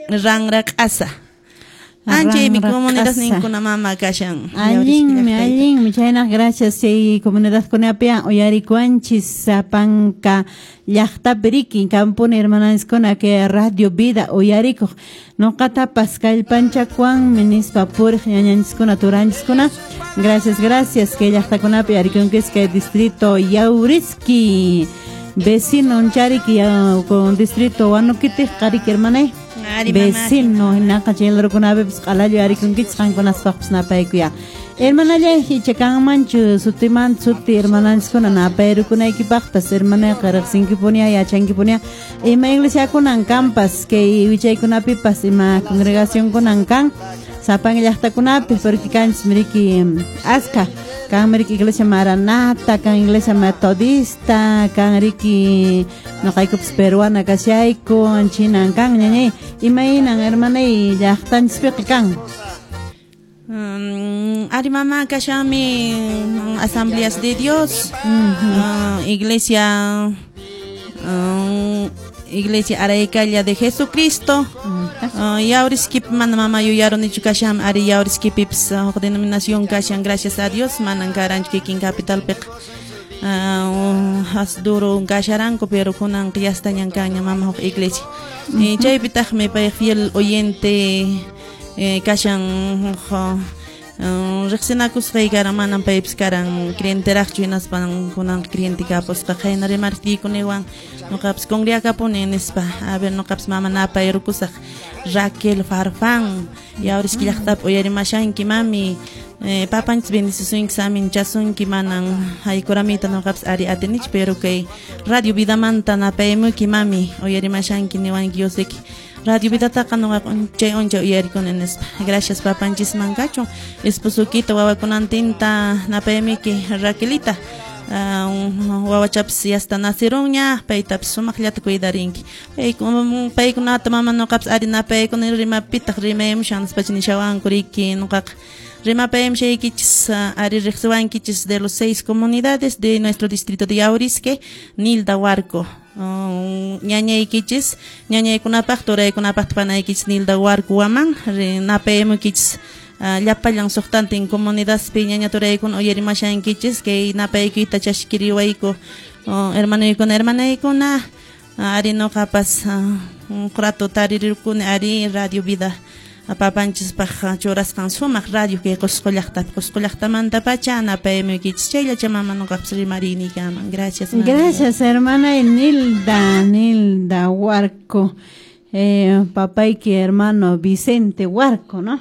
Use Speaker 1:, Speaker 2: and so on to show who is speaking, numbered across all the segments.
Speaker 1: Ranra Q'asa. Anchaymi comunidadninkuna mama kashan.
Speaker 2: Allinmi, allinmi. Chayna gracias chay comunidadkunapi uyarikuanchis sapanka llaqtapi riki kampuni hermananchiskuna kay Radio Vida uyarikuq. Noqatapas kallpanchakuanmi nispa puriq ñañanchiskuna turanchiskuna. Gracias, gracias kay llaqtakunapi uyarikunkis kay distrito Yawriski. Vecino chariki con distrito Huanoquiti qariki hermanay. Vecino hinaqa chay larukunapipis q'alallu uyarikunkichis qankunaspaqpis napaykuya. Hermanallay icha kanmanchu sutimanta suti hermananchiskuna napayrukunaykipaqpas hermanayqa riqsinkipunia yachankipunia ima iglesiakunan kanpas kay wichaykunapipas ima congregacionkunan kan sapan llaqtakunapi porque kanchis miriki aska kan miriki iglesia Maranata, kan iglesia Metodista, kan riki noqaykupas peruana kashayku chinan kan ñañay imaynan hermanay llaqtanchispiqa kan.
Speaker 1: Ari mama kashanmi Asambleas de Dios, iglesia Iglesia Araykalla de Jesucristo. Yawriskipi mana mama yuyarunichu kashan ari Yawriskipipis huk denominación kashan gracias a Dios manan karanchu kikin capitalpiqa. Has duro kasharanku pero kunan qiyastañan kanña mama huk iglesia. Chaypitaqmi pay fiel oyente kashan huk riqsinakusqay karan manan paypis karan creenteraqchu hinaspan kunan creyente kapusqa qayna rimartiykuniwan noqapis congregakapuni nispa a ver noqapis mama napayrukusaq Raquel Farfán Yawriski llaqtapi uyarimashanki mami papanchis bendicisunki saminchasunki manan haykuramita noqapis ari atinichu pero kay Radio Vidamanta napaymuki mami uyarimashanki niwanki yosiki Radio Vidataqa noqaqa unchay unchay uyarikuni nispa. Gracias papanchisman kachun esposukita wawakunantinta napaymuki Raquelita wawachapis yasta nacirunña paytapis sumaqllata cuidarinki paykunata mama noqapis ari napaykuni rimapitaq rimaymushan nispacha nishawanku riki noqaqa rimapaymushaykichis ari riqsiwankichis de los 6 comunidades de nuestro distrito de Yawriski Nilda Huarco ñañaykichis ñañaykunapaq turaykunapaq panaykichis Nilda Huarco waman napaymukichis llapallan suqtantin comunidadpi ñaña turaykuna uyarimashankichis kay napaykuyta chashkiriwayku hermanoykuna hermanaykuna ari noqapas rato tarirukuni ari Radio Vida papanchispaq churasqan sumaq radio kay Qusqu llaqtapi Qusqu llaqtamantapacha napaymuykichis chayllacha mama noqapas rimariniykaman. Gracias mama.
Speaker 2: Gracias hermana Nilda, Nilda Huarco. Papayki hermano Vicente Huarco, ¿no?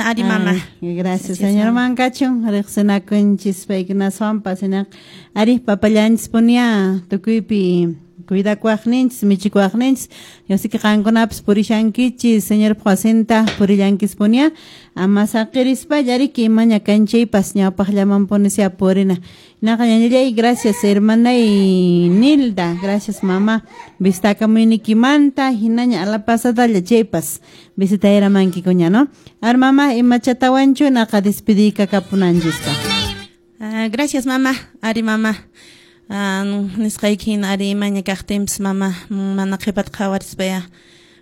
Speaker 1: Ari mama.
Speaker 2: Gracias, señor Mancachun. Riqsinakunchis paykunaswanpas hinaqa ari papallanchis punia tukuypi cuidakuaqninchis michikuaqninchis yosiki qankunapas purishankichis señorpa wasinta purillankis punia ama saqirispalla riki imaña kanchaypas ñawpaqllamanpunisya purina. Hinaqa ñañallay gracias hermanay Nilda, gracias mama visitakamuynikimanta hinaña ala pasadalla chaypas visitayramanki-kuña, ¿no? Ar mama imachatawanchu naqa despidikakapunanchista.
Speaker 1: Gracias mama, ari mama. Nisqayki hina ari imaña kaqtinpis mama mana qhipata qhawarispaya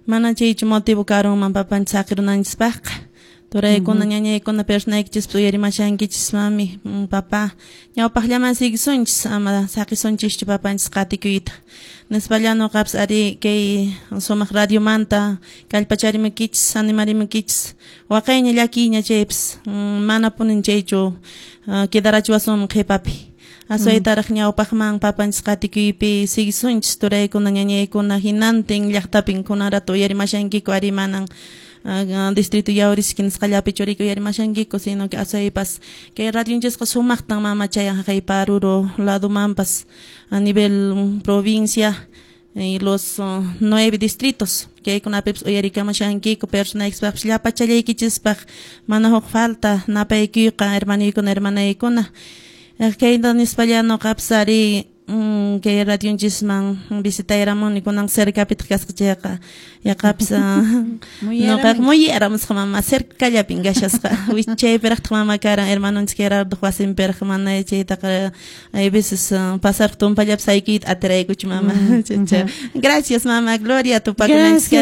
Speaker 1: mana chaychu motivo karunman papanchis saqirunanchispaqqa turaykuna ñañaykuna personaykichispas uyarimashankichis mami papá ñawpaqllaman siguisunchis ama saqisunchischu papanchis qatikuyta nispalla noqapis ari kay sumaq radiomanta kallpacharimukichis animarimukichis waqayña llakiyña chaypis manapunin chaychu quedarachiwasunman qhipapi aswaytaraq ñawpaqman papanchis qatikuypi siguisunchis turaykuna ñañaykuna hinantin llaqtapin kunarata uyarimashankiku ari manan distrito Yawriski nisqallapi churiyku uyarimashankiku sino que aswaypas kay radionchisqa sumaqtan mama chayan haqay Paruro ladomanpas a nivel provincia y los 9 distritos kaykunapipis uyarikamashankiku personaykispaqpis llapachallaykichispaq mana huk falta napaykuyqa hermanoykuna hermanaykuna kayta nispalla noqapis ari kay radionchisman visitayramuni kunan cercapitaq kasqa chayqa yaqapis noqaqa muyaramusqa mama cercallapin kashasqa wichaypiraqtaq mama karan hermanonchis Gerardo wasinpiraq mana chaytaqa hay veces pasar tumpallapis aykuyta atiraykuchu mama. Gracias mama Gloria tupakunanchis.